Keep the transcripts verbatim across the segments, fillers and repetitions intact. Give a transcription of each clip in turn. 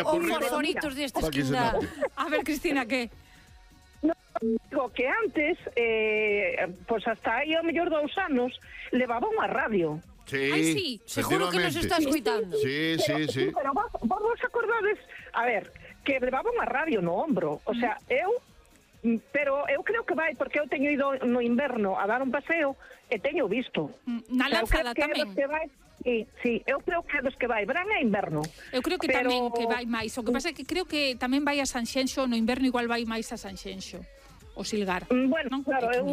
Os fosforitos desta esquina. A ver, Cristina, que? No, digo que antes, eh, pues hasta aí ao mellor dous anos, levaba unha radio. Sí, Ay, sí, seguro que nos está escuitando. Sí, sí, sí. sí. Pero vos, vos vos acordades, a ver, que levaba unha radio no ombro. O sea, eu, pero eu creo que vai, porque eu teño ido no inverno a dar un paseo e teño visto. Na Lanzada tamén. Sí, sí, eu creo que é dos que vai verán e inverno. Eu creo que pero... tamén que vai máis. O que pasa é que creo que tamén vai a Sanxenxo, no inverno igual vai máis a Sanxenxo. O Silgar. Bueno, ¿no? claro, eu...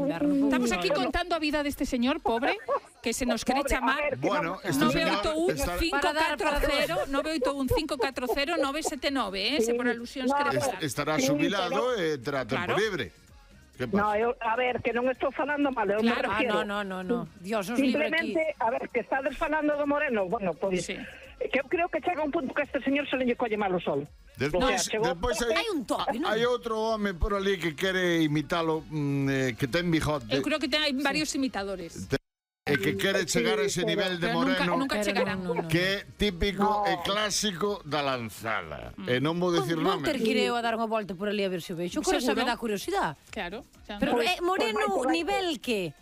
Estamos aquí no, contando a vida deste señor pobre que se nos quere chamar. Bueno, este nove oito un está... cinco catro cero nove oito un cinco catro cero nove sete nove, eh, se por alusións no, quere falar. Estará xubilado e terá tempo libre. No, eu, a ver, que non estou falando mal, eu claro, me refiero. Ah, no, no, no, no. Dios nos libre aquí. Simplemente, a ver, que estades falando do Moreno, bueno, pois, pues, sí. que eu creo que chega un punto que este señor se le colle mal o sol. Despois, o sea, chegou... despois hai, hai un toque, non? Hai outro home por ali que quere imitalo, mm, eh, que ten bigote. Eu creo que ten hai varios sí. imitadores. Te... E que quere chegar a ese nivel de Moreno, nunca, nunca chegarán, no, no. que é típico no. e clásico da Lanzada. Mm. E non vou dicir nomes. nomes. Vou ter que ir eu a dar unha volta por ali a ver se o vexo. Coisa me dá curiosidade. Claro. Pero eh, Moreno, nivel que?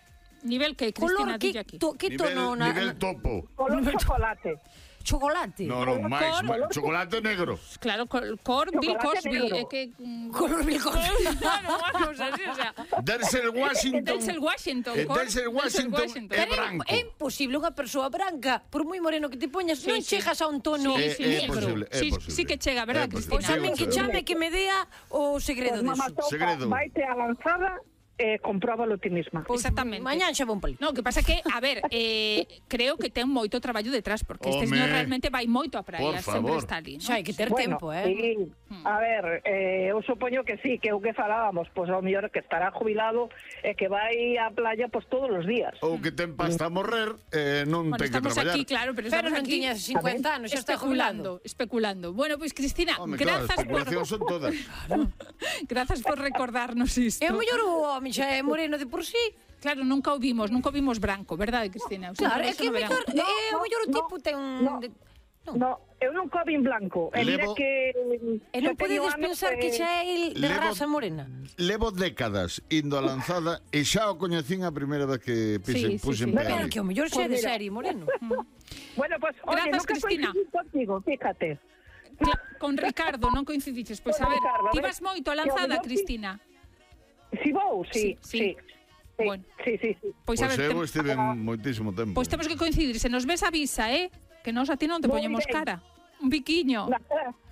Nivel que, Cristina, dille aquí. To, que nivel, tono? Nivel topo. Color chocolate. Chocolate? No, no, máis, máis. Chocolate negro. Claro, cor, cor Bill Cosby. É que... Color Bill Cosby. Claro, unha cosa así, o sea... Denzel Washington. Denzel Washington. Eh, Denzel Washington é branco. É imposible unha persoa branca, por moi moreno que te poñas, sí, non sí. chegas a un tono sí, sí, é, é posible, é sí, posible. Sí que chega, verdad, Cristina? Pois a min que chame que me dea o segredo pues, disso. Segredo. Vaite a Lanzada e eh, compróbalo ti misma. Pues, exactamente. Mañán xa vou pali. No, que pasa que, a ver, eh, creo que ten moito traballo detrás, porque este señor realmente vai moito a praia, sempre está ali, ¿no? Xa hai que ter bueno, tempo, eh? Sí. A ver, eh, eu supoño que sí, que o que falábamos, pois pues, ao mellor que estará jubilado e que vai á playa pois pues, todos os días. Ou que ten pasta a morrer e eh, non bueno, ten que traballar. Estamos aquí, claro, pero, pero estamos non aquí tiña cincuenta anos, xa está jubilando. Especulando. Bueno, pois pues, Cristina, Home, grazas claro, por... son todas. Grazas por recordarnos isto. É o mellor o home xa é moreno de por sí. Claro, nunca o vimos, nunca o vimos branco, verdade, Cristina? Claro, é que o mellor, no, é o mellor o tipo no, ten... No, de... no. no, eu non cobin blanco. E Levo... que... E non podedes pensar que xa é el de Levo... raza morena? Levo décadas indo a Lanzada e xa o coñecín a primeira vez que pise, sí, sí, puse sí. en Pero pé. que o mellor xa é de serie moreno. Bueno, pues, oye, grazas, nunca Cristina. Contigo, fíjate. Cla con Ricardo, non coincidiches. Pois a ver, ti vas moito a Lanzada, Cristina? Si vou, sí, sí. sí. Sí, bueno. sí, sí, sí. Pois Pois a ver, eu te... estive moitísimo tempo. Pois temos que coincidir, se nos ves avisa, eh? Que nos a ti non te Muy poñemos bien. cara. Un biquiño.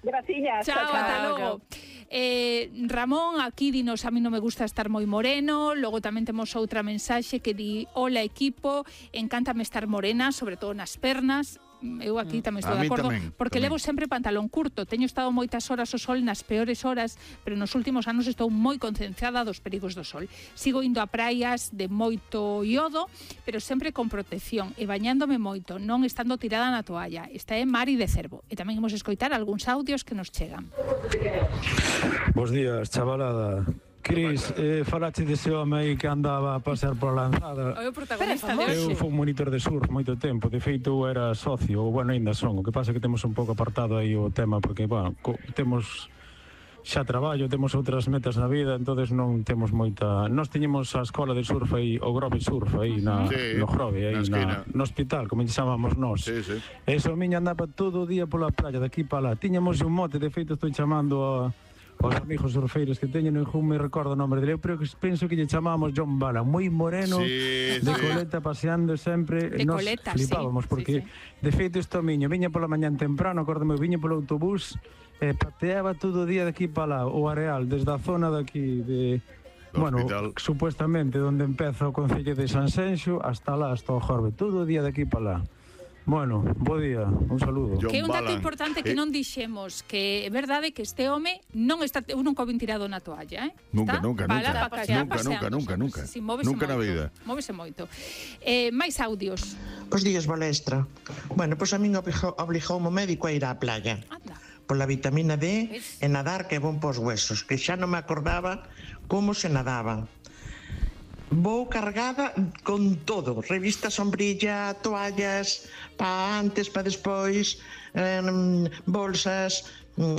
Graciñas. Chao, ata logo. Eh, Ramón, aquí dinos, a mí non me gusta estar moi moreno. Logo tamén temos outra mensaxe que di: hola equipo, encántame estar morena, sobre todo nas pernas. Eu aquí tamén estou A de mí acordo, tamén, porque tamén. levo sempre pantalón curto. Teño estado moitas horas ao sol nas peores horas, pero nos últimos anos estou moi concienciada dos perigos do sol. Sigo indo a praias de moito iodo, pero sempre con protección e bañándome moito, non estando tirada na toalla. Esta é Mari de Cervo. E tamén imos escoitar algúns audios que nos chegan. Bos días, chavalada. Cris, eh, falache dese home aí que andaba a pasear por a Lanzada. O protagonista de Eu hoxe. fui monitor de surf moito tempo, de feito eu era socio, ou bueno, ainda son. O que pasa é que temos un pouco apartado aí o tema, porque, bueno, co, temos xa traballo, temos outras metas na vida, entonces non temos moita... Nós tiñemos a escola de surf aí, o Grove Surf aí, na, sí, no Grove, aí na na, no hospital, como lle chamamos nós. Sí, sí. Eso, a miña andaba todo o día pola playa, daqui para lá. Tiñamos un mote, de feito estou chamando a... os amigos surfeiros que teñen, non me recordo o nome dele, pero que penso que lle chamamos John Bala, moi moreno, sí, de sí. coleta, paseando sempre. De nos coleta, flipábamos, sí, porque sí, sí. de feito isto miño, viña pola mañán temprano, acórdame, viña polo autobús, e eh, pateaba todo o día de aquí para lá, o areal, desde a zona de aquí, de... Do bueno, hospital. supuestamente, onde empeza o Concello de Sanxenxo, hasta lá, hasta o Jorbe, todo o día de aquí para lá. Bueno, bo día, un saludo. John Que é un dato Bala. importante que Eh, non dixemos, que é verdade que este home non está, eu nunca o vin tirado na toalla, eh? Nunca, Está nunca, bala nunca. pa pasear, Nunca, nunca, paseando, nunca, nunca. Sí, móvese Nunca na moito, vida. Móvese moito. Eh, máis audios. Bos días, Balestra. Bueno, pois a min obligou, obligou o médico a ir á playa. Anda. Pola vitamina D e nadar que é bon pos huesos, que xa non me acordaba como se nadaba. Vou cargada con todo, revista, sombrilla, toallas, pa antes, pa despois, eh, bolsas, mm,